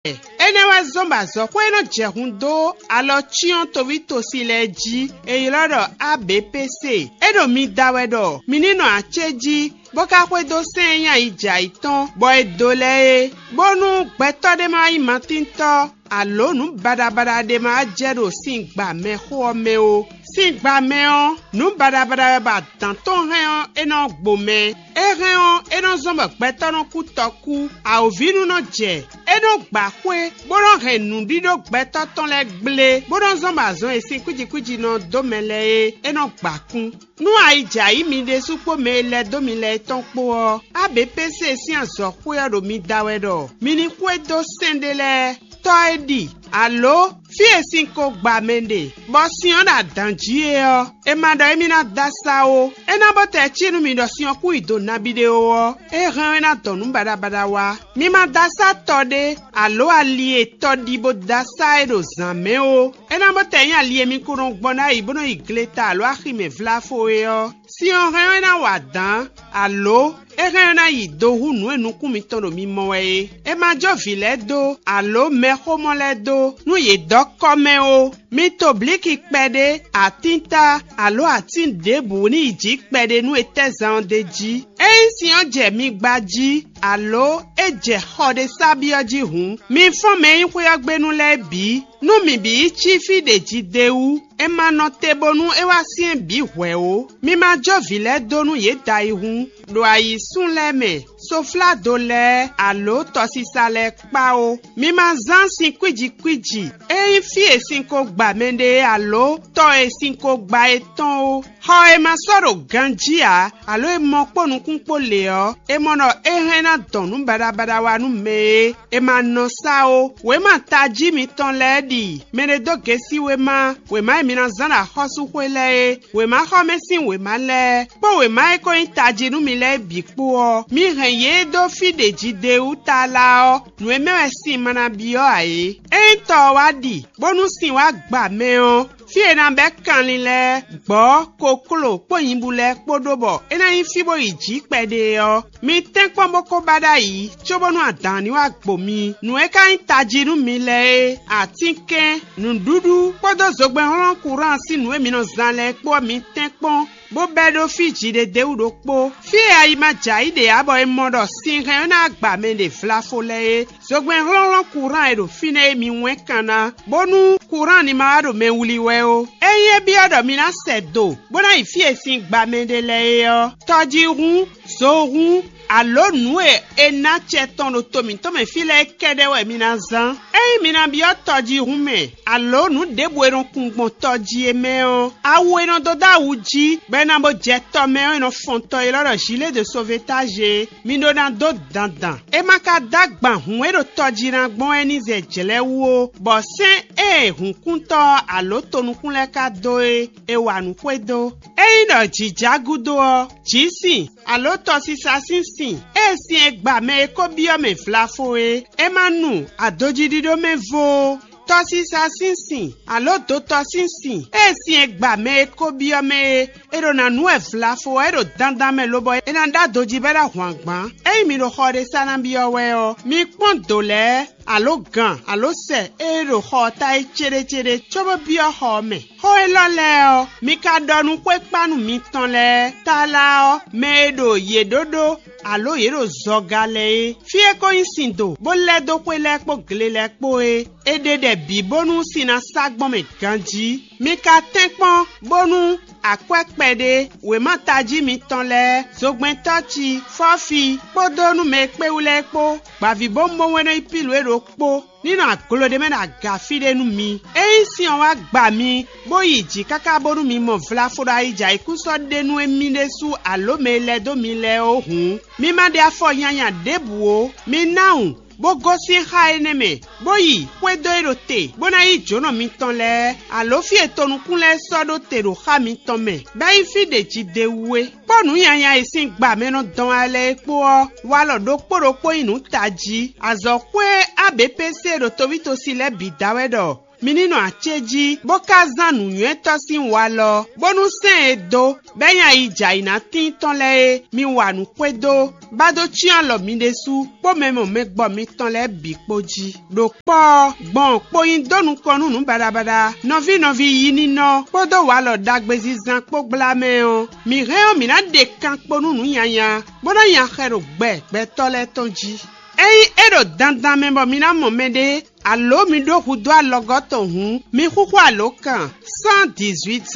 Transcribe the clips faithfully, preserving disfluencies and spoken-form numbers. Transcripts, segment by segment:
Énɛ́ wɛ zɔ́n bɔ azɔ̌xwé e nɔ jɛ hun dó alɔ cyɔ́n toví tosi lɛ́ɛ jí, è ylɔ́ ɖɔ A B P C. É ɖo mi da wɛ ɖɔ mi ní nɔ acé jí, bó ka xwedó sɛ́n e nyí ayi jɛ ayǐ tɔn, bɔ è dǒ lɛ́ɛ é, bónú gbɛtɔ́ ɖé ma wá nyí matíntɔ́, alǒ nǔ baɖabaɖa ɖé ma wá jɛ ɖo sin gba mɛxó ɔ́ mɛ ó. Sin gba mɛ ɔ́, nǔ baɖabaɖa wɛ bɔ adǎn tɔn hɛn ɔ́, é nɔ gbo mɛ. É hɛn ɔ́, é nɔ zɔ́n bɔ gbɛtɔ́ nɔ kú tɔkú. Awǒvínú nɔ jɛ. É nɔ gba xwé, bó nɔ hɛn nǔɖíɖó gbɛtɔ́ tɔn lɛ́ɛ gblé, bó nɔ zɔ́n bɔ azɔn e sin kwíji kwíji nɔ dó mɛ lɛ́ɛ é, é nɔ gba kún. Nú ayi jɛ ayǐ mi ɖésú kpó mɛ e lɛ́ dó mi lɛ́ɛ tɔn kpó ɔ́, A B P C sín azɔ̌xwé ɔ́ ɖo mi da wɛ ɖɔ mi ní xwedó sɛ́n ɖé lɛ́ɛ. Tɔ́ e ɖi, alǒ fí e sin ko gba mɛ ɖe, bɔ sin ɔ́ ɖo adǎn jí é ɔ́, è ma ɖɔ émí ná dó asá ó. É ná bó tɛ cí nú mi ɖɔ sin ɔ́ kún yi do nabí ɖé ó ɔ́, é hɛn ɔ́ é ná dɔn nǔ baɖabaɖa wá. Mi ma dó asá tɔ ɖé, alǒ ali e tɔ ɖi bó dó asá é ɖo zǎn mɛ ó. É ná bó tɛ nyí ali e mi ko nɔ gbɔn ná yi bó nɔ yi gleta alǒ axi mɛ vláfo é ɔ́. Sin ɔ́ hɛn ɔ́ é ná wa dǎn, alǒ é hɛn ɔ́ é ná yi do hú nǔ e nukún mitɔn ɖo mi mɔ wɛ é. È ma jó vǐ lɛ́ɛ dó, alǒ mɛxómɔ lɛ́ɛ dó, nú yě dɔ́ kɔ́ mɛ ó. Mi to blǐki kpɛɖé, atínta, alǒ atín ɖěbǔ ní yi jǐ kpɛɖé nú etɛ́zan ɔ́ d'é jí. Ényí sin ɔ́ jɛ mi gba jí, alǒ é jɛ xɔ ɖé sá byɔ́ jí hǔn, mi fɔ́n mɛ e nyí xwé ɔ́ gbe nú lɛ́ɛ bǐ. Nú mǐ bǐ yi cí fí ɖě jí d'é wú, è ma nɔ te bónú é wá syɛ́n bǐ hwɛ̌ ó. Mi ma jó vǐ lɛ́ɛ dó nú yě da yi hǔn, ɖo ayǐsún lɛ́ɛ mɛ, sofládo lɛ́ɛ, alǒ tɔsisa lɛ́ɛ kpá ó. Mi ma zán sin kwíji kwíji, é nyí fí e sin ko gba mɛɖé alǒ tɔ e sin ko gba é tɔn ó. Xɔ e ma sɔ́ ɖo ganjí ǎ, alǒ e mɔ kpó nukún kpó lě ɔ́, è mɔ ɖɔ é hɛn ná dɔn nǔ baɖabaɖa wá nú mɛ é. È ma nɔ sá ó. Wěma tají mitɔn lɛ́ɛ ɖi mɛ ɖé dó gěsí wěma, wěma e mi ná zán ɖo axɔ́súxwé lɛ́ɛ é, wěmaxɔmɛ sín wěma lɛ́ɛ, kpó wěma e ko nyí tají nú mi lɛ́ɛ bǐ kpó ɔ́, mi hɛn yě dó fí ɖě jí d'é wú tlala ɔ́, nǔ e mɛ wɛ sin ma ná byɔ́ ǎ é. Ényí tɔ ɔ́ wá ɖi, bónú sin wá gba mɛ ɔ́, fí e è nǎ bɛ́ kanlin lɛ́ɛ, gbɔ̌, kokló kpó nyibú lɛ́ɛ kpó ɖó bɔ é ná nyí fí bó yi jǐ kpɛɖé ɔ́, mi tɛ́nkpɔ́n bó ko ba ɖ'ayǐ, cóbónú adǎn ní wá gbo mi. Nǔ e ka nyí tají nú mi lɛ́ɛ é, atínkɛn, nǔɖuɖu kpódó zogbɛ́nhlɔ́n kuráan sín nǔ e mi nɔ zán lɛ́ɛ kpó ɔ́, mi tɛ́nkpɔ́n, bó bɛ́ ɖó fí jǐɖédéwú ɖokpó. Fí e ayi ma jɛ ayǐ ɖe ǎ bɔ è mɔ ɖɔ sin hɛn ɔ́ ná gba mɛ ɖe vlafo lɛ́ɛ é, zogbɛ́nhlɔ́nhlɔ́n kuráan e ɖo fínɛ́ é mi wɛ́n kan ná, bónú kuráan ní ma wá ɖo mɛ wlí wɛ ó. Ényí é byɔ́ ɖɔ mi ná sɛ do, bó ná yi fí e sin gba mɛ ɖe lɛ́ɛ é ɔ́, tɔjíhún, zohún, alǒ nǔ e è nǎ acɛ tɔn ɖo to mǐtɔn mɛ fí lɛ́ɛ kɛ́ɖɛ́ wɛ mi ná zán. Ényí mi ná byɔ́ tɔjíhún mɛ, alǒ nǔ ɖěbǔ e nɔ kun gbɔn tɔ jí é mɛ ɔ́, awu e nɔ dó dó awu jí, bɔ è nǎ bó jɛ tɔ mɛ ɔ́, è nɔ fɔn tɔ élɔ́ ɖɔ gilet de sauvetage é. Mi ɖó ná dó dandan. É ma ka dó agban hǔn e ɖo tɔ jí ná gbɔn wɛ ní zɛ jlɛ̌ wú ó, bɔ sɛ́n e hǔnkúntɔ́ ɔ́ alǒ tonukún lɛ́ɛ ka dó é, è wa nǔ xwedó. Ényí ɖɔ jǐ ja gúdo ɔ́, jǐ sin, alǒ tɔsisa sín sin, ée sin e gba mɛ e ko byɔ́ mɛ vlafo é, é ma nu adojíɖíɖó mɛ vo ó. Tɔsisa sín sin, alǒ dotɔ sín sin, ée sin e gba mɛ e ko byɔ́ mɛ é, è ɖo ná nu wɛ vlafo ɔ́, é ɖo dandan mɛ lobɔ è nǎ ɖó adojí bɔ é ná hwan gbǎn. Ényí mi ɖo xɔ ɖé sa ná byɔ́ wɛ ɔ́, mi kpɔ́n dǒ lɛ́ɛ, alǒ gan, alǒ sɛ e ɖo xɔ ɔ́ ta é céɖécéɖé, cóbó byɔ́ xɔ ɔ́ mɛ. Xó élɔ́ lɛ́ɛ ɔ́, mi ka ɖɔ nú xwékpánu mitɔn lɛ́ɛ, tlala ɔ́, mɛ e ɖo yě ɖó ɖó, alǒ yě ɖo zɔga lɛ é. Fí e ko nyí sin do, bó lɛ́ dó xwé lɛ́ɛ kpó gle lɛ́ɛ kpó é, è ɖe ɖɛ bǐ bónú sin ná sá gbɔn mɛ ganjí. Mi ka tɛ́nkpɔ́n bónú akwɛ́ kpɛɖé, wěma tají mitɔn lɛ́ɛ, zogbɛ́ntɔ́ ci, fɔ́fi, kpódó nú mɛ e kpé wú lɛ́ɛ kpó, gbǎvíbówúnbówún e nɔ nyí Pilu é ɖokpó, ní nɔ aglo ɖé mɛ ɖo aga fí ɖé nú mi. Ényí sin ɔ́ wá gba mi, bó yi jǐ káká bónú mi mɔ vlafo ɖo ayijɛ ayǐkúsɔ́ ɖé nú émí ɖésú alǒ mɛ e lɛ́ dó mi lɛ́ɛ ó hǔn, mi ma ɖe afɔ nyanya ɖěbǔ ó. Mi ná wun, bó gosín xá énɛ́ mɛ, bó yi xwedó e ɖo te, bó ná yí jǒnɔ mitɔn lɛ́ɛ, alǒ fí e tonukún lɛ́ɛ sɔ́ ɖó te ɖo xá mitɔn mɛ, bɔ é nyí fí ɖě jí d'é wú é. Kpɔ́ nǔ nyanya e sín gba mɛ nɔ dɔn wá lɛ́ɛ é kpó ɔ́, walɔ ɖokpó ɖokpó nyí nǔ tají. Azɔ̌xwé A B P C ɖo tovítosi lɛ́ɛ bǐ da wɛ ɖɔ Mi ní nɔ acéjí, bó ka zán nǔnywɛ́tɔ́ sín walɔ, bónú sɛ́n e dó, bɔ é nyí ayi jɛ ayǐ ná tíin tɔn lɛ́ɛ é, mi wa nǔ xwedó, bá dó cyɔ́n alɔ mi ɖésú kpó mɛ mɔ mɛ gbɔ mitɔn lɛ́ɛ bǐ kpó jí. Ɖo kpɔ́ ɔ́, gbɔn kpo nyi dó nukɔn nú nǔ baɖabaɖa, nɔví nɔví yi ninɔ kpódó walɔ ɖagbezinzan kpó gbla mɛ ɔ́, mǐ hɛn ɔ́, mǐ ná ɖe kan kpo nú nǔ nyanya, bó ná nya xɛ ɖo gbɛ gbɛtɔ́ lɛ́ɛ tɔn jí. Ényí é ɖo dandan mɛ bɔ mi ná mɔ mɛɖé, alǒ mi ɖó hudó alɔgɔ́ tɔn hǔn, mi xúxú alǒkan cent dix-huit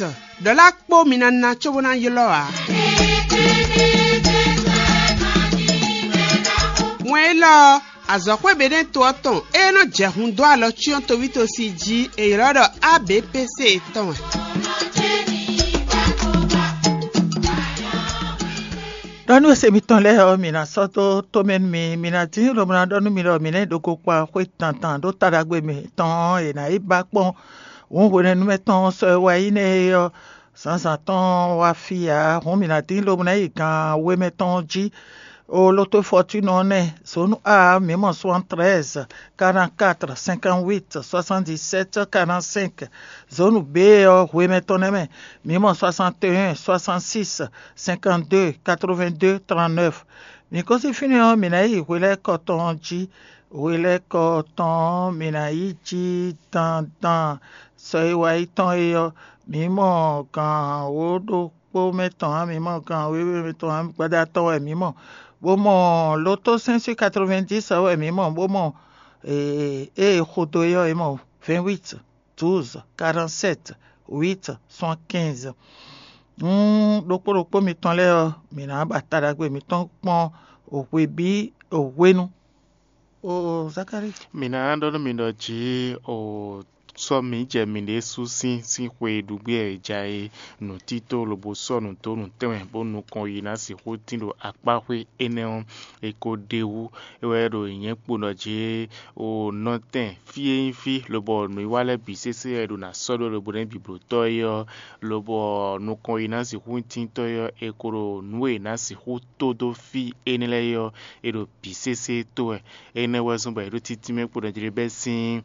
ɖɔ̌la kpó mi ná ná cóbó ná ylɔ́ ǎ. Wɛn élɔ́ ɔ́, azɔ̌xwé Benɛ́to ɔ́ tɔn e nɔ jɛ hun dó alɔ cyɔ́n tovítosi jí è ylɔ́ ɖɔ A B P C tɔn wɛ. Ɖɔ nú ese mitɔn lɛ́ɛ ɔ́, mǐ ná sɔ́ dó tomɛ nú mi; mi ná dín lobo ná ɖɔ nú mi ɖɔ mǐ ná yi ɖo gokpa xwé tantan ɖó taɖagbe mǐtɔn ɔ́, è nǎ yi ba kpɔ́n hǔn hwenɛ́nu mɛ tɔn sɔ e wá yi nɛ́ é ɔ́, zǎnzǎn tɔn wá fí ǎ. Hǔn mǐ ná dín lobo ná yi gan we mɛ tɔn jí. O loto fɔtúnɔ ɔ́ nɛ́, zǒnu A mǐ mɔ soixante-treize, quarante-quatre, cinquante-huit, soixante-dix-sept, quarante-cinq. Zǒnu B ɔ́, hwemɛ tɔn nɛ́ mɛ, mǐ mɔ soixante-et-un, soixante-six, cinquante-deux, quatre-vingt-deux, trente-neuf. Mǐ gosín fínɛ́ ɔ́, mǐ ná yi hwelɛ́kɔ tɔn jí. Hwelɛ́kɔ tɔn ɔ́, mǐ ná yi jí dandan. Sɔ e wá yi tɔn é ɔ́, mǐ mɔ gǎn wǒ ɖokpó mɛ tɔn ǎ, mǐ mɔ gǎn wěwe mɛ tɔn ǎ, gbada tɔn wɛ mǐ mɔ, bó mɔ loto cinq cent quatre-vingt-dix ɔ́ wɛ mǐ mɔ, bó mɔ ée xo dó é ɔ́, è mɔ vingt-huit, douze, quarante-sept, huit, soixante-quinze. Nú ɖokpó ɖokpó mitɔn lɛ́ɛ ɔ́, mǐ ná ba ta ɖagbe mǐtɔn kpɔ́n hwebǐ hwenu. O Zakalíi. Mǐ ná ɖɔ nú mi ɖɔ jǐ o sɔ́ mǐ jɛ mǐɖée sú sín sín xwe e ɖu gbé wɛ è ja é nǔtító lobo sɔ́ nǔ dó nǔ tɛnmɛ bó nukɔn yi ná sixú tín ɖo akpáxwé énɛ́ ɔ́, è ko ɖe wú. É wɛ ɖo nyǐnyɛ́ kpo ɖɔ jǐ o nɔtɛn fí e nyí fí lobɔ nǔwiwa lɛ́ɛ bǐ sésé wɛ è ɖo ná sɔ́ ɖó lobo nɛ́ biblotɔ́ é ɔ́, lobɔ nukɔn yi ná sixú tíntɔ́ é ɔ́, è ko ɖo nǔ e è nǎ sixú tó dó fí énɛ́ lɛ́ɛ é ɔ́, è ɖo bǐ sésé tó wɛ. Énɛ́ wɛ zɔ́n bɔ è ɖó títínmɛ kpo ɖɔ jlé bɛ́ sín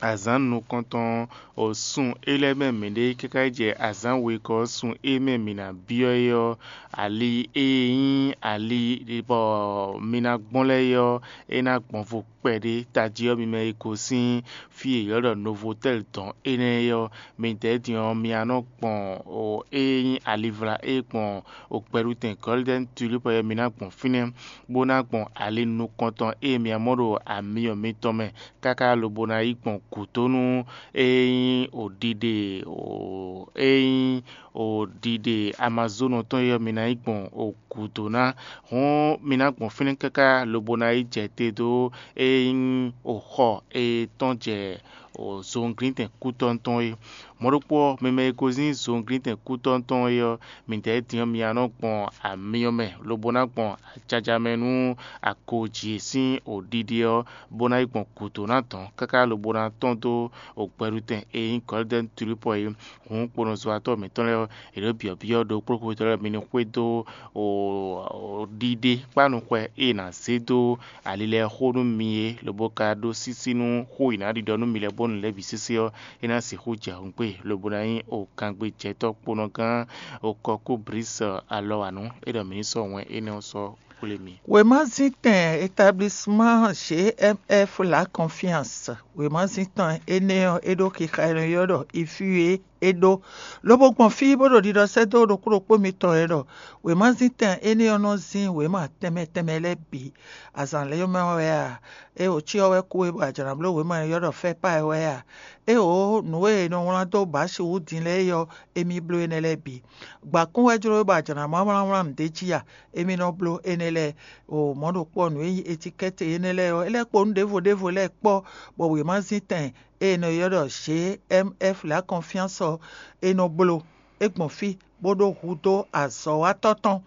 azǎn nukɔntɔn o sun é lɛ́ɛ mɛ mǐɖée káká yi jɛ azǎn wegɔ́ sun e mɛ mǐ ná byɔ́ é ɔ́, ali e nyí ali bɔ mi ná gbɔn lɛ́ɛ é ɔ́, é ná gbɔn vo kpɛɖé tají ɔ́ mi mɛ e gosín fí e è ylɔ́ ɖɔ Novotɛ́l dɔn énɛ́ é ɔ́, midɛɛ din ɔ́, mi ná nɔ gbɔn o e nyí alivla e gbɔn o gbɛɖutɛn Gɔ́lidɛ́ni Tulípɔ é, mi ná gbɔn fínɛ́, bó ná gbɔn ali nukɔntɔn e mi ná mɔ ɖo amyɔ mitɔn mɛ káká lobo ná yi gbɔn gǔdónú e nyí o ɖiɖe o e nyí o ɖiɖe Amazónu tɔn é ɔ́, mi ná yi gbɔn o gǔdo ná. Hɔn mi ná gbɔn fínɛ́ káká lobo ná yi jɛ te dó e nyí o xɔ e tɔn jɛ o zɔnglíntɛn kútɔ́ tɔn é. Mɔ̌ ɖokpó ɔ́, mɛ mɛ e gosín zɔnglíntɛn kútɔ́ tɔn é ɔ́, midɛɛ din ɔ́, mi ná nɔ gbɔn amyɔ mɛ, lobo ná gbɔn ajaja mɛ nú akojí e sín o ɖiɖe ɔ́, bó ná yi gbɔn gǔdo ná dɔn káká lobo ná tɔ́n dó o gbɛɖutɛn e nyí Gɔlidɛ́ni Tulípɔ é. Hǔn kponɔzɔ́watɔ́ mǐtɔn lɛ́ɛ ɔ́, è ɖǒ byɔ̌byɔ́ ɖokpóɖokpó tɔn lɛ́ɛ mi ní xwedó ɖiɖe kpánuxwɛ e è nǎ zé dó ali lɛ́ɛ xó nú mi é, lobo ka ɖó sísí nú xó e è nǎ ɖiɖɔ nú mi lɛ́ɛ bónú lɛ̌ bǐ sésé ɔ́, é ná sixú jɛ hǔngbe, lobo ná nyí o kangbejɛtɔ́ kponɔgán o kɔkú Blísɛ alɔ wǎ nú é ɖɔ mǐ ní sɔ́ wɛn énɛ́ ɔ́ sɔ́ xwlé mi. Wěmazíntɛn établissement G M F La Confiance, wěmazíntɛn énɛ́ ɔ́, é ɖó xixa e nɔ ylɔ́ ɖɔ Ifíwe é ɖó, lobo gbɔn fí bó ɖo ɖiɖɔ sɛ́ dó ɖokpó ɖokpó mitɔn e ɖɔ wěmazíntɛn énɛ́ ɔ́ nɔ zín wěma tɛnmɛ tɛnmɛ lɛ́ɛ bǐ. Azǎn lɛ́ɛ mɛ wɛ a? Éeǒ, cyɔ wɛ kú we bɔ a jlǎ bló wěma e ylɔ́ ɖɔ Fɛ́pá é wɛ a? Éeǒ, nǔ e è nɔ wlán dó Bǎsi wú din lɛ́ɛ é ɔ́, émí bló énɛ́ lɛ́ɛ bǐ. Gbǎkún wɛ jló we bɔ a jlǎ má wlánwlán nǔɖé jí a? Émí nɔ bló énɛ́ lɛ́ɛ. O mɔ̌ ɖokpó ɔ́, nǔ e nyí etikɛ́ti énɛ́ lɛ́ɛ ɔ́, é lɛ́ kpo nú ɖěvo ɖěvo lɛ́ɛ kpɔ́, bɔ wěmazíntɛn e è nɔ ylɔ́ ɖɔ G M F La Confiance ɔ́, è nɔ bló. É gbɔn fí, bó ɖó hudó azɔ̌watɔ́ tɔn.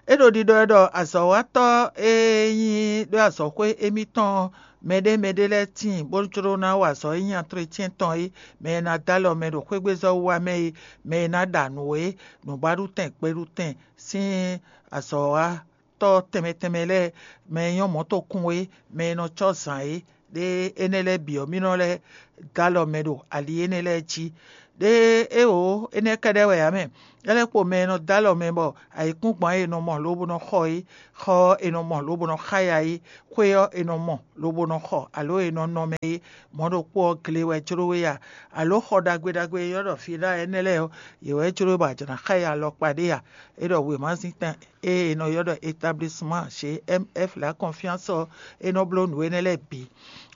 É ɖo ɖiɖɔ wɛ ɖɔ azɔ̌watɔ́ e nyí ɖó azɔ̌xwé émítɔn ɔ́, mɛɖé mɛɖé lɛ́ɛ tíin bó jló ná wa azɔ̌ e nyí antlɛcyɛn tɔn é, mɛ e ná dó alɔ mɛ ɖo xwégbezɔ́ wiwa mɛ é, mɛ e ná ɖa nǔ é, nǔbaɖutɛn gbeɖutɛn sín azɔ̌watɔ́ tɛnmɛ tɛnmɛ lɛ́ɛ, mɛ e nyɔ́ mɔ̌tokún é, mɛ e nɔ cɔ́ zǎn é, ɖé énɛ́ lɛ́ɛ bǐ ɔ́, mì nɔ lɛ́ dó alɔ mɛ ɖo ali énɛ́ lɛ́ɛ jí. Ɖé éwo énɛ́ kɛ́ɖɛ́ wɛ ǎ mɛ. É lɛ́ kpo mɛ e nɔ dó alɔ mɛ bɔ ayǐkúngban e è nɔ mɔ lobo nɔ xɔ é, xɔ ɔ́ è nɔ mɔ lobo nɔ xá ya é, xwé ɔ́ è nɔ mɔ lobo nɔ xɔ alo è nɔ nɔ mɛ é, mɔ̌ ɖokpó ɔ́ gle wɛ jló we a? Alo xɔ ɖagbe ɖagbe e ylɔ́ ɖɔ fila énɛ́ lɛ́ɛ ɔ́, yě wɛ jló we bɔ a jǎ ná xá ya alɔkpa ɖé a? É ɖɔ wěmazintan e è nɔ ylɔ́ ɖɔ établissemán chez M F la confiance ɔ́, é nɔ bló nǔ énɛ́ lɛ́ɛ bǐ.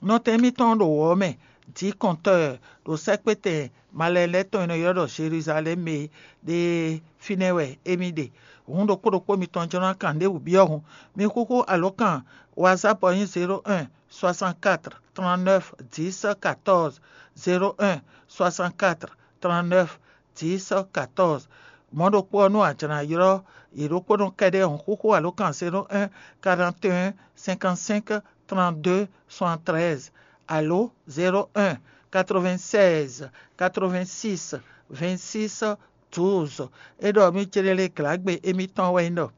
Nɔtɛn émítɔn ɖo wɔ̌ mɛ, dǐ kɔntɔ́ ɖo sɛ́kpétɛn malɛn lɛ́ɛ tɔn e è nɔ ylɔ́ ɖɔ Jeluzalɛ́mu é ɖe fínɛ́ wɛ émí ɖe. Hǔn ɖokpó ɖokpó mitɔn jló ná kan ɖěbǔ byɔ́ hǔn. Mi xúxú alǒkan WhatsApp ɔ́ nyí zéro un soixante-quatre trente-neuf dix quatorze, zéro un soixante-quatre trente-neuf dix quatorze. Mɔ̌ ɖokpó ɔ́, nú a jlǎ ylɔ́ yě ɖokpónɔ kɛ́ɖɛ́ hǔn xúxú alǒkan zéro un quarante et un cinquante-cinq trente-deux soixante-treize alo zéro un quatre-vingt-seize quatre-vingt-six vingt-six douze. É ɖɔ mì céɖélé glǎgbe émítɔn wɛ nyí ɖɔ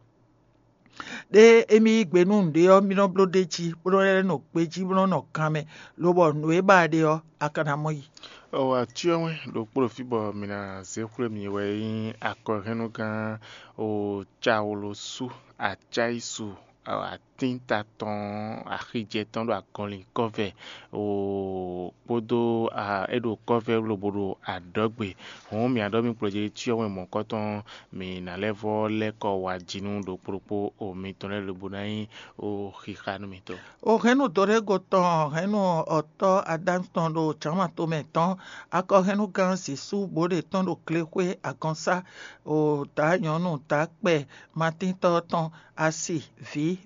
ɖé émí yí gbe nú nǔɖé ɔ́, mì nɔ bló ɖ'é jí, bó nɔ́ lɛ́ nɔ gbejí, bó nɔ́ nɔ ganmɛ, lobɔ nǔ e ba a ɖe ɔ́, a ka ná mɔ yi. Ɔ acyɔ́ wɛn ɖokpó ɖo fí bɔ mǐ ná zé xwlé mi wɛ nyí akɔhɛnnugán o cawlosu acáyisu atínta tɔn axijɛ tɔn ɖo agɔnlin kɔ́vɛ o kpódó é ɖo kɔ́vɛ lobo ɖo adɔ̌gbe. Hǔn mǐ ɖɔ mì kplɔ́ jí cyɔ́ wɛn mɔ̌kɔtɔn mǐ ná lɛ́ vɔ́ lɛ́ kɔ wá jí nú ɖokpó ɖokpó o mitɔn lɛ́ɛ lobo ná nyí o xixa nú mitɔn. O hɛn nú Dorego tɔn, hɛn nú ɔtɔ́ Adámu tɔn ɖo jǎnma tomɛ tɔn, akɔhɛnnugán Zisú bó ɖe tɔn ɖo glexwé agɔnsá, o dǎ nyɔ̌nu dǎ kpɛ matíntɔ́ tɔn, asi vǐ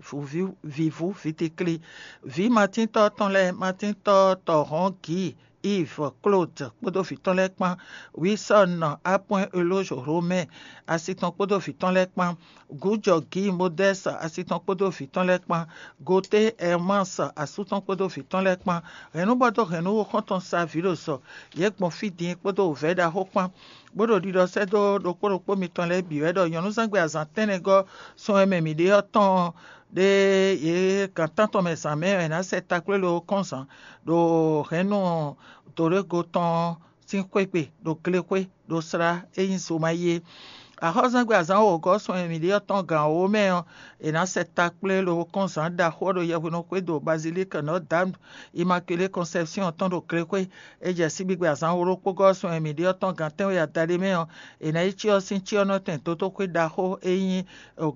vǐvú vǐtikli, vǐ matíntɔ́ tɔn lɛ́ɛ, matíntɔ́ tɔhɔ̌n Gǐ, Iv, Klód kpódó vǐ tɔn lɛ́ɛ kpán, Wisɔ́n, Apwɛ́n Elóz Hlomɛ́ asi tɔn kpódó vǐ tɔn lɛ́ɛ kpán, Gǔjɔ Gǐ Modɛ́s asi tɔn kpódó vǐ tɔn lɛ́ɛ kpán, Goté Ɛrmás asú tɔn kpódó vǐ tɔn lɛ́ɛ kpán, hɛ̌nnúbɔ́dó hɛ̌nnúxɔ́ntɔn Savílo sɔ, yě gbɔn fí din kpódó wǔvɛ́ ɖaxó kpán, bó ɖo ɖiɖɔ sɛ́ dó ɖokpó ɖokpó mitɔn lɛ́ɛ bǐ wɛ ɖɔ nyɔ̌nuzángbe azǎn tɛ́nnɛgɔ́ sun e mɛ mǐ ɖe ɔ́ tɔn ɔ́, ɖé yě gan tántɔn mɛ zǎn mɛ wɛ è nǎ sɛ takplé lobɔ kɔ́n zǎn ɖo hɛ̌nnu Dorego tɔn ɔ́ sín xwé gbe ɖo glexwé ɖo slá e nyí Zomayi é. Axɔ́súzangbe azǎn wǒgɔ́ sun e mǐ ɖe ɔ́ tɔn gǎn wǒ mɛ ɔ́, è nǎ sɛ takplé lobɔ kɔ́n zǎn ɖaxó ɔ́ ɖo yɛhwenu xwé ɖo Bazilík Nɔ́ Dam Imakulé Kɔnsɛpsyɔ́n tɔn ɖo glexwé. É jɛ síbígbe azǎn wǒ ɖokpó gɔ́ sun e mǐ ɖe ɔ́ tɔn gǎn tɛ́nwe adaɖé mɛ ɔ́, è nǎ yi cyɔ sín cyɔ́nɔtɛn dódóxwé ɖaxó e nyí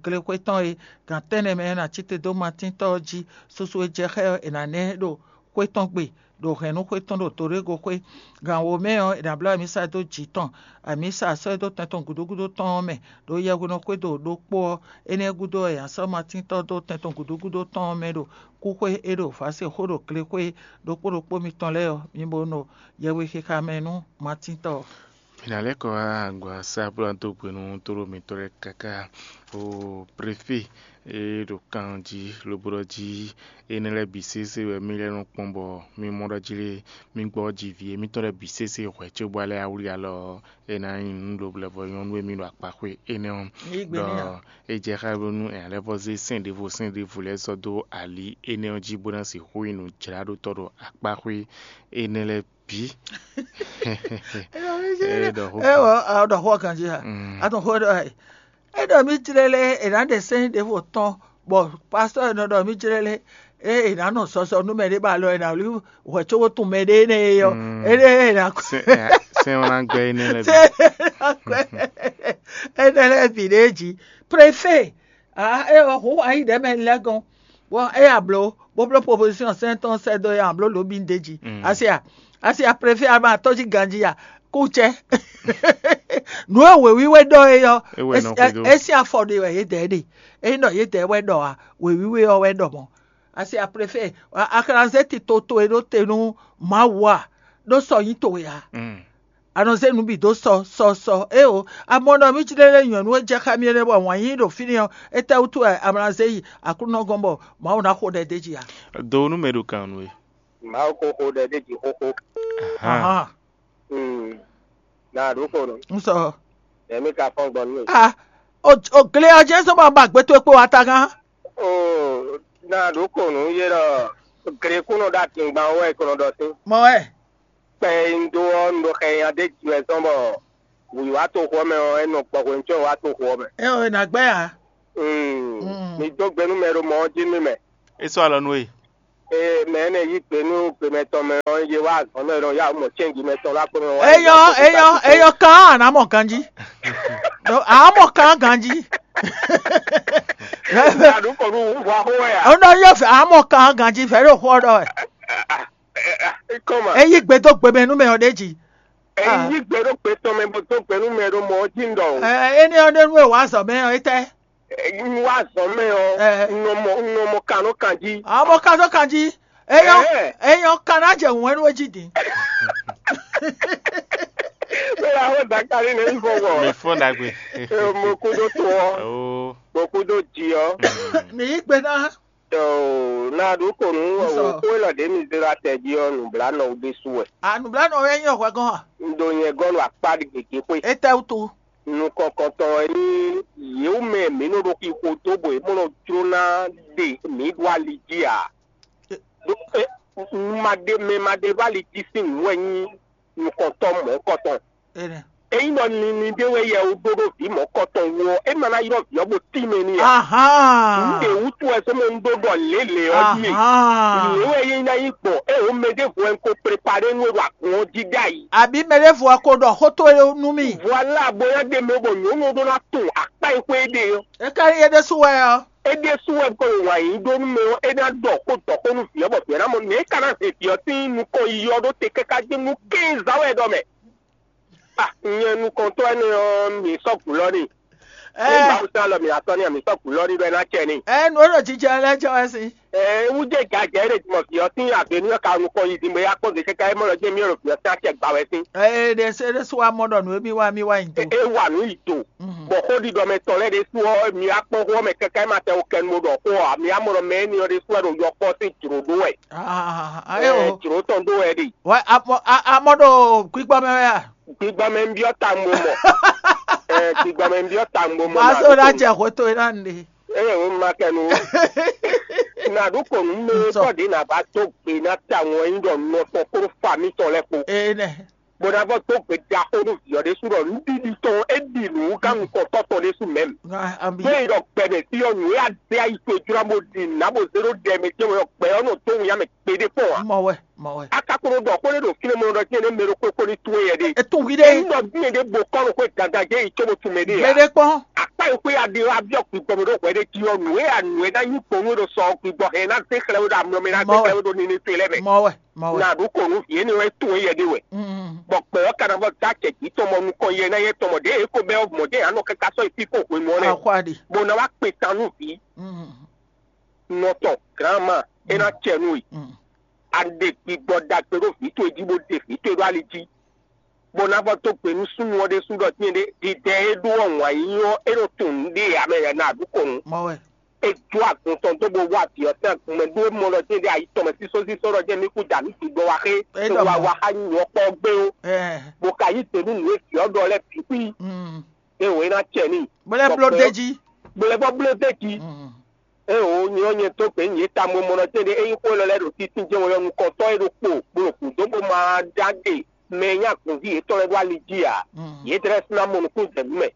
glexwé tɔn é. Gǎn tɛ́nnɛ mɛ ɔ́, è nǎ cí te dó Matíntɔ́ ɔ́ jí. Susu e jɛ xá ɛ ɔ́, è nǎ ná ɛ ɖo xwé tɔn gbe, ɖo hɛ̌nnu xwé tɔn ɖo Torégo xwé. Gǎn wǒ mɛ ɔ́, è nǎ bló amǐsa dó jǐ tɔn, amǐsa sɔ́ ɛ dó tɛn tɔn gǔdo gúdo tɔn ɔ́ mɛ, ɖó yɛhwenu xwé ɖo ɖokpó ɔ́, énɛ́ gúdo wɛ è nǎ sɔ́ Matíntɔ́ dó tɛn tɔn gǔdo gúdo tɔn ɔ́ mɛ ɖo kúxwé e ɖo vǎ se xó ɖo glexwé ɖokpó ɖokpó mitɔn lɛ́ɛ ɔ́, mi bo nɔ yɛhwexixa mɛ nú Matíntɔ́ ɔ́. Mǐ ná lɛ́ kɔ wá agba sá bó ná dó gbe nú tóɖó mǐtɔn lɛ́ɛ káká. O prefé e ɖo kan jí lobo ɖɔ jí énɛ́ lɛ́ɛ bǐ sésé wɛ mì lɛ́ nɔ kpɔ́n bɔ mì mɔ ɖɔ jí lé mì gbɔ jí vǐ émítɔn lɛ́ɛ bǐ sésé hwɛ̌ cóbɔ lɛ́ awlí alɔ ɔ́, é ná nyí nǔ ɖo blɛ́vɔ nyɔ́nú e mì ɖo akpaxwé énɛ́ ɔ́. Ɖɔ é jɛ xá bónú è nǎ lɛ́ vɔ́ zé sɛ́n ɖěvo sɛ́n ɖěvo lɛ́ɛ sɔ́ dó ali énɛ́ ɔ́ jí bó ná sixú nyí nǔjláɖótɔ́ ɖo akpaxwé énɛ́ lɛ́ɛ bǐ. Ewɔ, a ɖɔ xó ganjí a? A tún xó ɖɔ ɛ. É ɖɔ mì jlɛ́ lé è nǎ ɖe sɛ́n ɖěvo tɔn, bɔ pastɔ́ e nɔ ɖɔ mì jlɛ́ lé, ée è nǎ nɔ zɔzɔ nú mɛ ɖé ba alɔ è nǎ wlí hwɛ̌ cóbó tún mɛ ɖé énɛ́ é ɔ́, énɛ́ è nǎ kɔ. Sɛ́n ɔ́ ná gbɛ́ énɛ́ lɛ́ɛ bǐ. Énɛ́ lɛ́ɛ bǐ ɖé jí. Préfé, ǎ é ɔ́, hǔn wǎ yí ɖɛ̌ mɛ lɛ́ɛ gɔ́n. Bɔ é ya blǒ, bó bló proposition sɛ́n tɔn sɛ́ dó é ǎ, bló lǒ bǐ ɖ'é jí. Asi a, asi a préfé a ma tɔ́ jí ganjí a, kú cɛ. Nǔ e wěwíwé ɖɔ é ɔ́, é sín afɔ ɖe wɛ yě dɛ ɖe. É nyí ɖɔ yě dɛ wɛ ɖɔ a, wěwíwé ɔ́ wɛ ɖɔ mɔ̌. Asi a préfé, a xlǎnzé tito towe ɖó te nú Mawu a, ɖó sɔ nyí towe a. A nɔ zé nǔ bǐ dó sɔ sɔ sɔ. Éeǒ, a mɔ ɖɔ mì cí ɖé lɛ́ɛ nyɔ̌nu e jɛ xá mì é nɛ́ bɔ wǎn yíyí ɖo fínɛ́ ɔ́, étɛ́wútu wɛ a ma ná zé yi Aklúnɔ gɔ́n bɔ Mawu ná xo ɖɛ d'é jí a? Do nú mɛ ɖo kan nú we. Mawu ko xo ɖɛ d'é jí xóxó. Ahán. Na ɖǒ ko nɔ. Un sɔ. Ɛmí ka fɔ́n gbɔn nú. A o o gle ɔ́ jẹ́ sɔ́ bɔ ba gbé towe kpó wa ta gán. O na ɖǒ ko nǔ yé ɖɔ Gre kún nɔ ɖo adingban wɛ kɔnɔ ɖɔ sín. Mɔ wɛ. Kpɛ e un dó ɔ́, un ɖo xɛ nya ɖé ji wɛ zɔn bɔ wǐwá toxo ɔ́ mɛ ɔ́, é nɔ gbɔ hwenu cóbɔ wá toxo ɔ́ mɛ. É ɔ́, è nǎ gbɛ́ ǎ. Mm. Mm. Mi dó gbe nú mɛ ɖo mɔ ɔ́ jí nú mɛ. É sɔ́ alɔ nú we. Ee, mɛ énɛ́ yí gbe nú gbe mɛtɔn mɛ ɔ́, yě wá azɔ̌ mɛ ɖɔ yá mɔ cɛ́nji mɛtɔn lá kpɔ́n mɛ wá. Eyɔ, eyɔ, eyɔ kan a nǎ mɔ ganjí. Ɖo a mɔ kan ganjí. Aɖu kɔ nú wú hwa xó wɛ a? Ó nɔ yɔ fɛ a mɔ kan ganjí fɛ ɖo xó ɔ́ ɖɔ wɛ. Kɔma. Eyi gbe dó gbe mɛ nú mɛ ɔ́ ɖé jí. Eyi gbe ɖó gbe tɔn mɛ bó dó gbe nú mɛ ɖo mɔ ɔ́ jí ɖɔ o. Ɛ, énɛ́ ɔ́ ɖé nú e wǎ azɔ̌ mɛ ɔ́, étɛ́? Un wá azɔ̌ mɛ ɔ́, un nɔ mɔ un nɔ mɔ kan nɔ kan jí. A mɔ kan nɔ kan jí. Eyɔ, eyɔ kan ná jɛ wɛn nú jí din. Bẹ́ẹ̀ àwọn dàkàrí ní ìfọwọ́. Mi fún dàgbé. Mo kú tó tó ọ́. Oh. Mo kú tó jí ọ́. Ní í gbe ná. Tó, na ɖu kò nú òkú èlɔ ɖě mi zé ɖo atɛ jí ɔ́, nǔblanɔ ɖésú wɛ. A nǔblanɔ wɛ nyí ọ̀hwɛ gɔn a? Un ɖo nyɛ gɔ́ nɔ akpá gěgé xwé. Étɛ́ wútu? Nukɔn kɔntɔn wɛ nyí yěwú mɛ mǐ nɔ ɖo xixo dó bɔ yě mɔ nɔ jló ná ɖe mǐ ɖo ali jí ǎ. Ɖó é, ma ɖe mɛ ma ɖe ɖo ali jí sín nǔ wɛ nyí nukɔntɔn mɔ̌kɔtɔn. Ényí ɖɔ nini ɖé wɛ yɛ wú ɖó ɖó vǐ mɔ̌kɔtɔn wú ɔ́, é ma ná ylɔ́ vǐ ɔ́ bó tín mɛ n'i ǎ. Nǔɖé wútu wɛ sɔ́ mɔ un ɖó ɖɔ lě lě ɔ́ jí mì. Lě wɛ é ná nyí gbɔn, é wǒ mɛ ɖěvo wɛ un ko preparé nú we ɖo agun ɔ́ jí ɖ'ayǐ. Abǐ mɛ ɖěvo wɛ ko ɖɔ xó towe nú mì. Voilà, bóyá ɖe mɛ bɔ nyɔ̌nu ɔ́ ɖó ná tunwun akpá e xwé é ɖe ɔ́. É ka nyí é ɖésú wɛ ɔ́. É ɖésú wɛ kɔ wǎn yí ɖó nú mɛ ɔ́, é ná ɖɔ xó dɔ̌xó nú vǐ ɔ́, bɔ vǐ ɔ́ ná mɔ nɛ̌ é ka ná hɛn vǐ ɔ́ sín nukɔn yiyi ɔ́ ɖó te káká dó nú kɛ́nzá wɛ ɖɔ mɛ. Ah, nyɛ nukɔntɔ́ énɛ́ ɔ́, mǐ sɔ́ gǔlɔ́ n'i. Ní Mawu sɛ́n alɔ mǐ atɔ́ n'i, mǐ sɔ́ gǔlɔ́ n'i ɖɔ é ná cɛ n'i. Ɛ nǔ e ɖo jijɛ lɛ́ɛ jɛ wɛ sín. Ɛ wú jɛ gǎjɛ é ɖe jimɔ vǐ ɔ́ sín agbe nú ɔ́ ka nukɔn yi din bɔ é yá kpɔ́n gbe káká é mɔ ɖɔ jɛ́n mì e ɖo vǐ ɔ́ sín acɛ gba wɛ sín. Ɛ ɖe se ɖésú wa mɔ ɖɔ nǔ e mì wa mì wa nyi do. É wa nǔ yi do. Bɔ xó ɖiɖɔ mɛ tɔn lɛ́ɛ ɖésú ɔ́, mi wá kpɔ́n xó ɔ́ mɛ káká é ma tɛ wo kɛnu bo ɖɔ xó ɔ́ ǎ. Mi wá mɔ ɖɔ mɛ énɛ́ ɔ́ ɖésú wɛ ɖo yɔkpɔ́ sín jlǒ ɖó wɛ. Ɛ jlǒ tɔn ɖó wɛ ɖe. Wɛ a mɔ ɖo gbígbɔ mɛ wɛ a? Gbigbɔmɛ ń byɔ́ tawun bó mɔ. Ɛ, gbigbɔmɛ ń byɔ́ tawun bó mɔ. Má sɔ́ ná jɛ hwetó e ná nu ɖe. Eye wò ma kɛ nu. Nàɖú kò nú mɛ tɔ́ ɖě nà bá dó gbe ná tawun ɛ nyí ɖɔ nɔ tɔn kpódó fa mitɔn lɛ́ɛ kpó. Ee nɛ. Bó ná vɔ dó gbe ɖaxó nú vǐ ɔ́ ɖésú ɖɔ nǔɖiɖi tɔn é ɖi nǔ gán nukɔntɔ́ tɔn ɖésú mɛ̌m. Bó yi ɖɔ gbɛmɛ fí ɔ́ nǔ e adé ayi towe jlá bó ɖi nǔ ná bó zé ɖó ɖɛ mɛ jɛ́n wɛ ɔ́, gbɛ ɔ́ nɔ dó wun yá mɛ gbeɖé kpɔ́n ǎ. Mɔ wɛ, mɔ wɛ. A ka ko nɔ ɖɔ xó ɖé ɖo fínɛ́ mɔ ɖɔ jɛ́n nɛ́ mɛ ɖokpó kó ní towe yɛ ɖe. E tún hwi ɖe. Ényí ɖɔ bí mɛ ɖé bo kɔ́ ɖo xwé gangan jɛ́n yi có bo tunmɛ ɖe ǎ. Gbeɖé kpɔ́n. Akpá yi xwé ya ɖe wá byɔ́ gbígbɔ mɛ ɖó hwɛ ɖé jí ɔ́, nǔ e ya nǔ e ná nyí kpɔ́n nú é ɖo sɔ gbígbɔ hɛn ná zé xlɛ́ we ɖo amlɔ mɛ ná zé xlɛ́ we ɖo nini towe lɛ́ɛ mɛ. Mɔ wɛ, mɔ wɛ. Na ɖu kò nú vǐ énɛ́ wɛ tún é yɛ ɖé wɛ. Bɔ gbɛ ɔ́ ka ná vɔ dó acɛ jǐ tɔn mɔ nukɔn yɛ ná yɛ tɔn mɔ ɖěe é ko bɛ́ ɔ́ mɔ ɖěe ǎ nɔ káká sɔ́ yi fí kpó hwenu ɔ́ nɛ́. Axwá ɖe. Bó ná wá kpe tan nú vǐ. Nɔ tɔn, grǎnma, é ná cɛ nú we. A ɖe gbigbɔ ɖagbe ɖó vǐ towe jí bó ɖe vǐ towe ɖó ali jí, bó ná vɔ dó gbe nú súnnu ɔ́ ɖésú ɖɔ dín ɖé ɖiɖɛ e ɖó ɔ́ wǎn yíyí ɔ́, é nɔ tunwun nǔɖé ǎ mɛ ná ɖu kɔ nu. Mɔ wɛ. É jó agun tɔn dó bó wá vǐ ɔ́ sín agun mɛ ɖó é mɔ ɖɔ dín ɖé ayi tɔn mɛ sísɔ́sísɔ́ ɖɔ jẹ́ mí kú dǎ mí gbigbɔ wá xé, é ɖɔ wá mɔ. Wá xá nyuɔ kpɔ́ gbé ó. Ɛ. Bó ka yí gbe nú nǔ e vǐ ɔ́ ɖɔ lɛ́ɛ bǐ xwí. Mm. É wǒ é ná cɛ n'i. Bó lɛ́ bló Bɔ dé gbɛ-, jí. Bó lɛ́ bɔ bló dé jí. Mm. Ée wǒ nyɔ́ nyɛ dó gbe nyǐ ta mo mɔ nɔ tɛ́nɖé ényí xó élɔ́ lɛ́ɛ ɖo títí jɛ́n wɛ ɔ́, nukɔntɔ́ e ɖo kpo bó ɖo gǔdo bó ma ɖó agbe mɛ e nyí agunví yětɔn lɛ́ɛ ɖó ali jí ǎ. Yě tlɛ sín ná mɔ nukúnnú jɛ nǔ mɛ.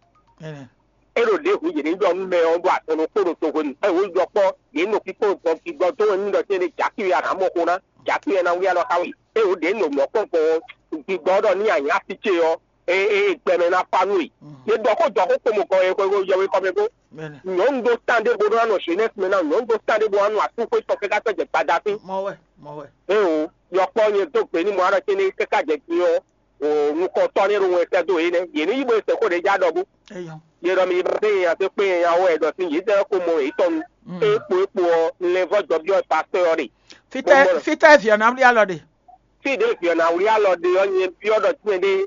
É ɖo ɖěhǔn yě ní ɖɔ nú mɛ ɔ́ ɖo azɔn ɖokpó ɖo tohwenu. Ée wǒ ɖɔ kpɔ́, yě nɔ kíkó gbɔn gbígbɔ dó wɛ nú ɖɔ tɛ́nɖé jǎkí wɛ a nǎ mɔ xó ná, jǎkí wɛ ná wlí alɔ xá we. Ée wǒ ɖě nɔ mɔ̌ kpɔ́n gbɔn gbígbɔ ɔ́ ɖɔ ní a nyǐ así ce ɔ́, e e gbɛmɛ ná fa nú we. Yě ɖɔ xó jɔ xó kpomɔ gɔn e xwé yɛwe kɔ mɛ bó. Nyɔ̌nu ɖó tán ɖé bó nɔ nɔ Zenɛ́si mɛ ná, nyɔ̌nu ɖó tán ɖé bó nɔ asúxwé tɔn káká sɔ́ jɛ gbada fí. Mɔ wɛ, mɔ wɛ. Ée o, yɔkpɔ́ nyɛ dó gbe ní mɔ aɖɔ céné káká jɛ din ɔ́, o nukɔntɔ́ ní ɖo wɛn sɛ́ dó yě nɛ́. Yě ní yí bó e sɛ́xó ɖě já ɖɔ bó. Eyɔn. Yě ɖɔ mi yi bá dé yɛn ase kpé yɛn ya wɛ ɖɔ sín yě zɛ ko mɔ yě tɔn nu. Ée kpo é kpo ɔ́, un lɛ́ vɔ́ jɔ byɔ́ pastɔ́ ɔ́ ɖe. Fítɛ́ Bó mɔ- fítɛ́ vǐ ɔ́ ná wlí alɔ ɖe. Fí ɖě vǐ ɔ́ ná wlí alɔ ɖe ɔ́, nyɛ byɔ́ ɖɔ tínmɛ ɖé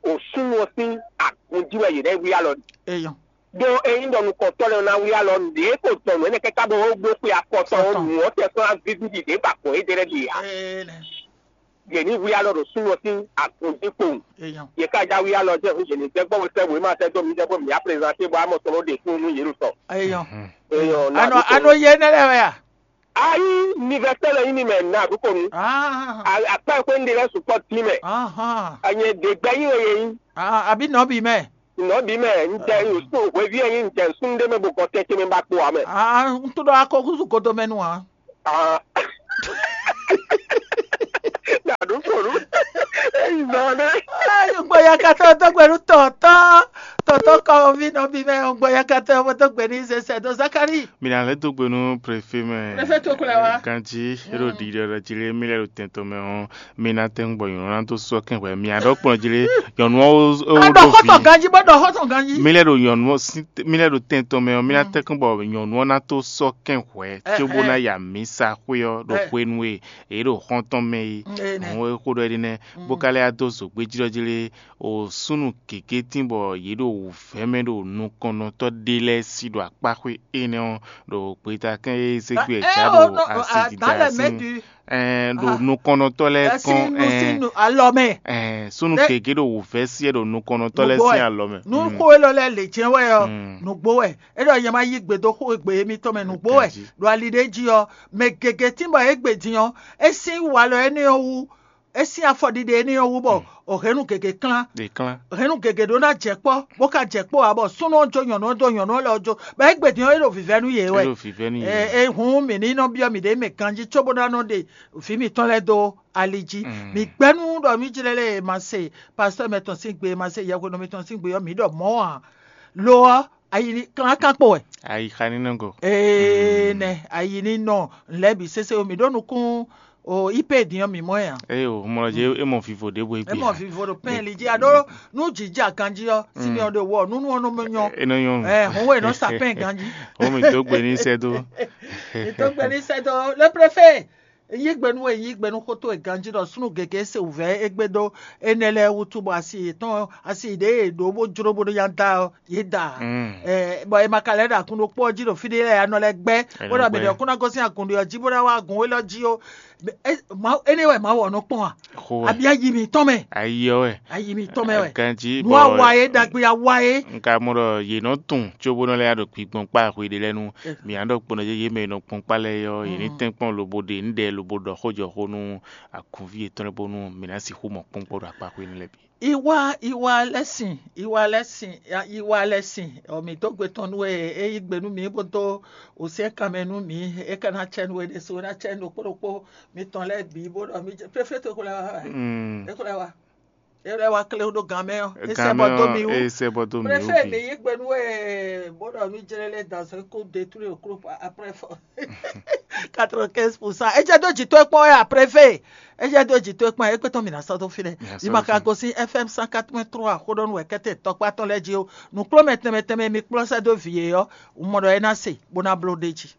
o súnnu ɔ́ sín agun jí wɛ yě ná wlí alɔ ɖe. Eyɔn. Ɖó ényí ɖɔ nukɔntɔ́ lɛ́ɛ ná wlí alɔ ɖě ko dɔn nǔ énɛ́ káká bɔ wó bló xwe afɔtɔn ɔ́, Fɔtɔn. Nǔ ɔ́ tɛ sɔ́ ná víví ɖi ɖě ba gbɔn éɖée lɛ́ɛ ɖe ǎ. Ee nɛ. Yě ní wlí alɔ ɖo súnnu ɔ́ sín agun jí kpowun. Eyɔn. Yě ká já wlí alɔ jɛ hǔn yě ní gbɛ́ gbɔn sɛ́ wěma sɛ́ dó mi jɛ bó mǐ á prezanté bɔ amɔ tɔn ɖe fún nú yě ɖo tɔn. Eyɔn. Eyɔn, Anɔ anɔ yé nɛ lɛ wɛ a? Ayi, université lɔ nyí mi mɛ na ɖukɔnu. Ah, Akpa xwe un ɖe lɛ sukpɔ ti mɛ. Aha. Anye ɖe gbɛ nyi wɛ yɛ nyi. Ah, àbí nɔbí mɛ. Nɔbí mɛ, n jɛ n sun hwevi yɛ nyi n jɛ n sun ɖe mɛ bo gɔ tɛtɛ mɛ ba kpo amɛ. Ah, n tó ɖɔ akɔ kúzu kodo mɛ nu a. Ah. Na ɖukɔnu. Eyi zɔ ne. Gbɔyakatɔ dɔgbɛnu tɔtɔ tɔtɔ kɔvi nɔbí mɛ gbɔyakatɔ dɔgbɛnu sɛsɛ dɔ Zakari. Mi na lɛ dó gbe nú préfet mɛ. Préfet tó kplɛ wá. Ganji, e ɖo ɖiɖɔ ɖe jí lé, mi lɛ ɖo tɛn tɔn mɛ ɔ́, mi na tɛn gbɔ nyɔ̌nu ná dó sɔ́ kɛn hwɛ. Mi a ɖɔ kplɔn jí lé, nyɔ̌nu ɔ́ ó Ado ɖo xɔtɔ vi. Ganji bó ɖɔ xɔtɔ ganji. Mi lɛ ɖo nyɔ̌nu ɔ́ sín, mi lɛ ɖo tɛn tɔn mɛ ɔ́, mi na tɛn kɔn bɔ nyɔ̌nu ɔ́ ná tó sɔ́ kɛn hwɛ, Eh, cóbó eh. ná ya mǐsa xwé ɔ́ ɖo Eh. Xwenu e yě ɖo xɔ́ntɔn mɛ é. Mm, eh, nɛ. Àwọn e xó ɖɔ é ɖi nɛ́, Mm. Bó ka lɛ́ yá dó zǒgbéjlɔ́ jí lé, o súnnu gěgé tín bɔ yě ɖo wǔvɛ́ mɛ ɖo nukɔnnɔtɔ́ ɖé lɛ́ɛ sí ɖo akpáxwé énɛ́ ɔ́, ɖo gbeta kɛn e zé gbé ɛ já ɖo asi dida sín. Ɛɛ, ɖo nukɔnnɔtɔ́ lɛ́ɛ kɔn, ɛɛ, alɔ mɛ. Ɛɛ, súnnu gěgé ɖo wǔvɛ́ sí ɛ ɖo nukɔnnɔtɔ́ lɛ́ɛ sín alɔ mɛ. Nú xó élɔ́ lɛ́ɛ lě jɛ́n wɛ ɔ́, Mm. nǔgbó wɛ. É ɖɔ nyɛ ma yí gbe dó xó e gbe émítɔn mɛ nǔgbó wɛ. Ganji. Ɖo ali ɖé jí ɔ́, mɛ gěgé tín bɔ é gbe din ɔ́, é sín walɔ énɛ́ ɔ́ wú, é sín afɔɖiɖe énɛ́ ɔ́ wú bɔ o hɛ̌nnu gěgé klán. È klán. Hɛ̌nnu gěgé ɖó ná jɛ kpɔ́, bó ka jɛ kpɔ́ ǎ bɔ súnnu ɔ́ jó nyɔ̌nu ɔ́ dó nyɔ̌nu ɔ́ lɛ ɔ́ jó. Bɔ é gbe din ɔ́, é ɖo vǐvɛ́ nú yě wɛ. É ɖo vǐvɛ́ nú yě. Ɛ, ɛ, hǔn mǐ ní nɔ byɔ́ mǐɖée mɛ ganjí cóbó ná nɔ ɖe vǐ mǐtɔn lɛ́ɛ dó ali jí. Mm. Mǐ gbɛ́ nú ɖɔ mǐ jlɛ́ lé e ma se pastɔ́ mɛtɔn sín gbe, e ma se yɛhwenɔ mɛtɔn sín gbe ɔ́, mǐ ɖɔ mɔ̌ ǎ. Lo ɔ́, ayi ní klán kán kpo wɛ. Ayi xa ní nɔ go. Ee nɛ ayi ní nɔ lɛ́ bǐ sésé o, mǐ ɖó nukún o ipe din ɔ́ mǐ mɔ ɛ ǎ. Eye o, mɔ jí é mɔ vivo ɖěvo é É gbé mɔ ǎ. Vivo ɖo pɛn li jí aɖó nú jǐ jɛ aganjí ɔ́, Simeon ɖo wɔ nú nú ɔ́ nɔ mɔ nyɔ. É nɔ nyɔ́ nù. Ɛ hɔn wɛ nɔ sa pɛn ganjí. Ó mi dó gbe ní sɛ́ dó. Mǐ dó gbe ní sɛ́ dó le préfet. Yí gbe nú we, yí gbe nú xótó e ganjí ɖɔ súnnu gěgé se wǔvɛ́ égbé ɖó énɛ́ lɛ́ɛ wútu bɔ asi yětɔn asi ɖě e ɖǒ bó jló bó ɖó nya da ɔ́, yě da. Mm. Ɛ, bɔ è ma ka lɛ́ ɖo akun ɖokpó ɔ́ jí ɖo fí ɖé lɛ́ɛ anɔ lɛ́ gbɛ́ Ɛ bó nɔ ɖɔ mɛ gbɛ́. Ɖɔ kún ná gosín agun ɖé ɔ́ jí bó ná wá agun élɔ́ jí ó. Ɛ, Mawu- énɛ́ wɛ Mawu ɔ́ nɔ kpɔ́n a? Xo wɛ. Abia yi mǐtɔn mɛ. Ayi ɔ́ wɛ. Ayi mǐtɔn mɛ wɛ. Ganjí Nú bɔ awa é ɖagbe awa é. N ka mɔ ɖɔ yě nɔ tun cóbó nɔ lɛ́ ɖo kpigbɔn kpá xwe ɖé lɛ́ɛ nu. Ɛ. Mǐ á ɖɔ kpɔ́n ɖɔ yé mɛ nɔ kpɔ́n kpá lɛ́ɛ yɔ yě ní Mm. tɛ́nkpɔ́n lobo ɖe nǔɖɛ lobo ɖɔ xó jɔ xó nú akunví yětɔn lɛ́ɛ bónú mǐ ná sixú mɔ kpɔ́nkpɔ́n ɖo akpá xwe nú lɛ́ɛ bǐ. Iwa iwa lɛ́ sin iwa lɛ́ sin iwa lɛ́ sin ɔ mǐ dó gbe tɔn nú we é yí gbe nú mǐ bó dó òsɛ́n kanmɛ nú mǐ. É ka ná cɛ nú we ɖésú é ná cɛ nú ɖokpó ɖokpó mitɔn lɛ́ɛ bǐ bó ɖɔ mí jɛ préfet é xó lɛ́ wá wɛ Mm. é xó lɛ́ wá é lɛ́ wá klé ɖó gan mɛ ɔ́ é sɛ Gan bɔ mɛ dó ɔ́, mi wú é sɛ bɔ dó mi wú préfet mi bǐ. Yí gbe nú we bó ɖɔ mí jlɛ́ lɛ́ dans un coup détruit au groupe après fort quatre-vingt-quinze pour cent é jɛ dó jǐ tó é kpɔ́n wɛ à préfet é jɛ dó jǐ tó é kpɔ́n é kpé tɔn mǐ ná sɔ́ dó fínɛ́. Mǐ ná sɔ́ Yimaka dó fínɛ́. Gosin F M cent quatre point trois xóɖɔnu wɛ kɛ́tɛ tɔkpá tɔn lɛ́ɛ jí ó. Nǔkplɔ́mɛ tɛnmɛ tɛnmɛ mi kplɔ́ sɛ́ dó vǐ e ɔ́, un mɔ ɖɔ é ná se bó ná bló ɖ'é jí.